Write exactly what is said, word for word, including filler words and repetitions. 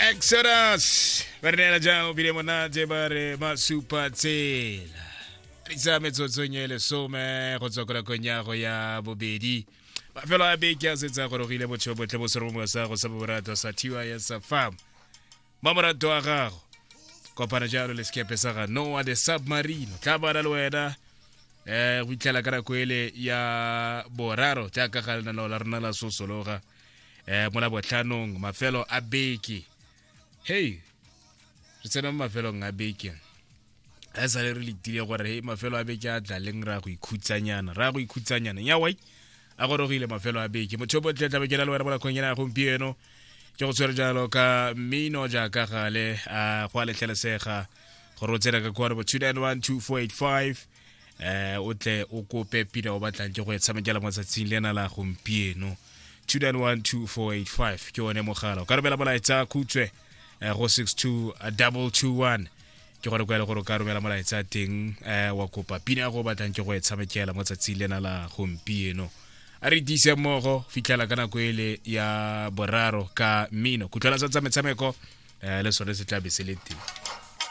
Exodus ba re neela jang o bile monate ba re masupa tsela re tsa metsotsong e lesome go tswa ko nakong ya go ya bobedi. Mafelo a beke a setse a gorogile, botho botlhe bo seromongwe sa go sa borato sa T Y S Farm mamorato wa gago. Kopana jalo le sekepe sa ga Noah the Submarine, tla bana le wena um go itlhela ka nako ele ya boraro jaaka ga lenaneo la rona la sosologa um mo labotlhanong. Mafelo a beke, hey, re tsena mo mafelong a beke a sale re letile gore hey, mafelo a beke a tla leng, ra go ikhutsanyana, ra go ikhutsanyana. Nyawai a gorogile mafelo a beke, motho botle tla bekela le wena mo nakong ena ya gompieno. Ke go tshwere jalo ka mmino jaaka gale a go a letlhelesega gore o tsena ka kwano bo two nine one two four eight five eh o tle o kope pina o batlang ke go e tshamekela mo tsatsing lena la gompieno. two nine one two four eight five ke one mogala. O ka romela molaetsa khutshwe eh, go six two two two one, ke gore kwa e le gore o ka romela molaetsa teng eh, wa kopa pina ya go batlang ke go e tshamekela mo tsatsing lena la gompieno. A re tiise mmogo fitlhela ka nako ele ya boraro ka mmino. Kutlwela sa tsa metshameko eh, le sone se tla be se le teng.